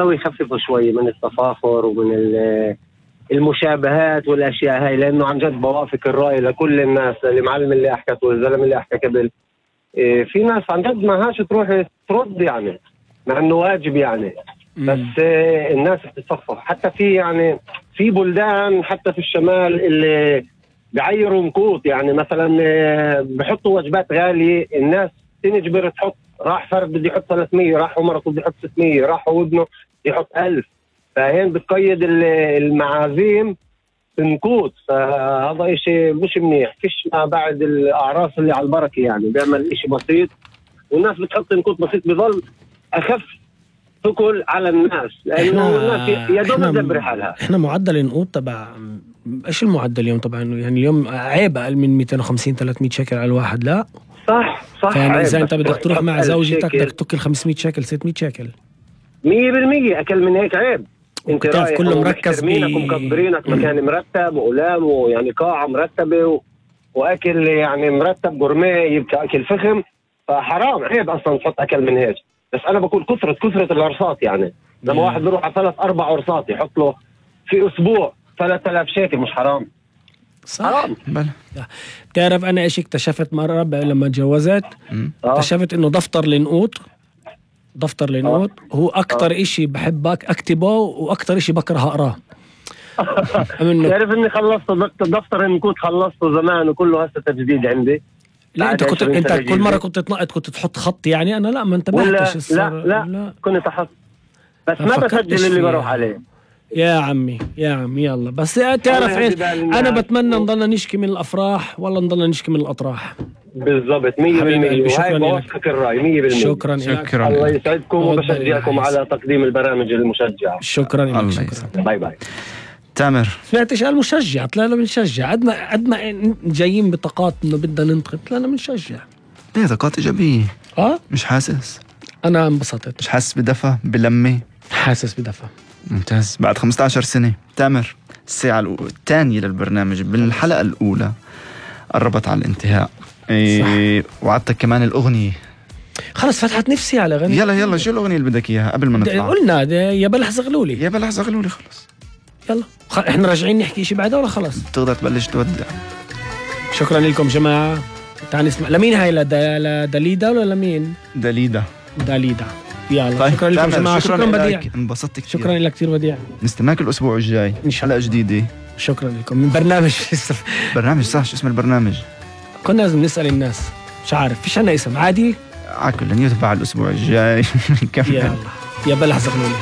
يخففوا شوي من التفاخر ومن المشابهات والاشياء هاي، لانه عن جد بوافق الراي لكل الناس، المعلم اللي احكت والزلمه اللي احكى قبل. في ناس عن جد ما هاش تروح ترد يعني، مع انه واجب يعني. بس الناس بتتصفح. حتى في يعني في بلدان حتى في الشمال اللي بعيروا مكوت، يعني مثلا بحطوا وجبات غاليه، الناس تنجبر تحط. راح فرد بده يحط 300، راح ومرته بده يحط 600، راح وابنه يحط 1000. فهين بتقيد المعازيم بنكوت، فهذا إشي مش منيح. فيش ما بعد الأعراس اللي على البركة، يعني بيعمل إشي بسيط والناس بتحط نكوت بسيط، بظل أخف ثقل على الناس، لأنه الناس يا دوب تدبر حالها. إحنا معدل النقود تبع إيش المعدل اليوم؟ طبعا يعني اليوم عيب أقل من 250-300 شكل على الواحد. لا صح يعني إذا أنت بدك تروح مع زوجتك بدك تكل 500 شكل 600 شكل 100%. أكل من هيك عيب. انت رايح كله مركز ومكبرينك مكان مرتب وأقلام ويعني قاعة مرتبة وأكل يعني مرتب جورميه، يبقى أكل فخم. فحرام عيب أصلا تحط أكل من هيك. بس أنا بقول كثرة العرصات، يعني لما واحد بيروح على 3-4 عرصات يحط له في أسبوع 3000 شيكل، مش حرام؟ صح. حرام. بتعرف أنا إيش اكتشفت مرة لما تجوزت؟ اكتشفت إنه دفتر النقود هو أكتر إشي بحبك أكتبه وأكتر إشي بكره أقراه. تعرف إني خلصت دفتر النقود، خلصته زمان وكله هسه تجديد عندي. لا أنت كل مرة كنت تنقط كنت تحط خط، يعني أنا لا ما انتبهتش. لا كنت أحط، بس ما بسجل اللي بروح عليه. يا عمي يلا. بس تعرف إيش أنا بتمنى نضلنا نشكي من الأفراح ولا نضلنا نشكي من الأطراح. بالضبط 100%. شكرا بوافقك الرأي 100%. شكرا. الله يسعدكم وبشجعكم على تقديم البرامج المشجعة. شكرا. باي. تامر سمعتش قال مشجع؟ طلعنا بنشجع. قد ما جايين بطاقات إنه بدنا ننتقد، طلعنا بنشجع. ليه طاقات إيجابية؟ مش حاسس؟ أنا انبسطت. مش حاسس بدفى بلمة؟ حاسس بدفى. ممتاز. بعد 15 سنة تامر، الساعة الثانية للبرنامج بالحلقة الأولى قربت على الانتهاء. وعدتك كمان الأغنية. خلص فتحت نفسي على غني. يلا شو الأغنية اللي بدك إياها قبل ما نطلع؟ قلنا يا بلح زغلولي. خلص يلا احنا راجعين نحكي شي بعدها ولا خلص؟ تقدر تبلش تودع. شكرا لكم جماعة. تعال نسمع. لمين هاي؟ لداليدا ولا لمين؟ داليدا. يلا طيب. شكرا لكم جماعة. شكرا بديع. انبسطت كثير. شكرا لك كثير بديع. نستناك الأسبوع الجاي حلقة جديدة. شكرا لكم من برنامج صح. شو اسم البرنامج؟ كنا لازم نسأل الناس. مش عارف فيش عنا اسم عادي. عاكل يتبع الأسبوع الجاي. يلا يا بلح زغلولي.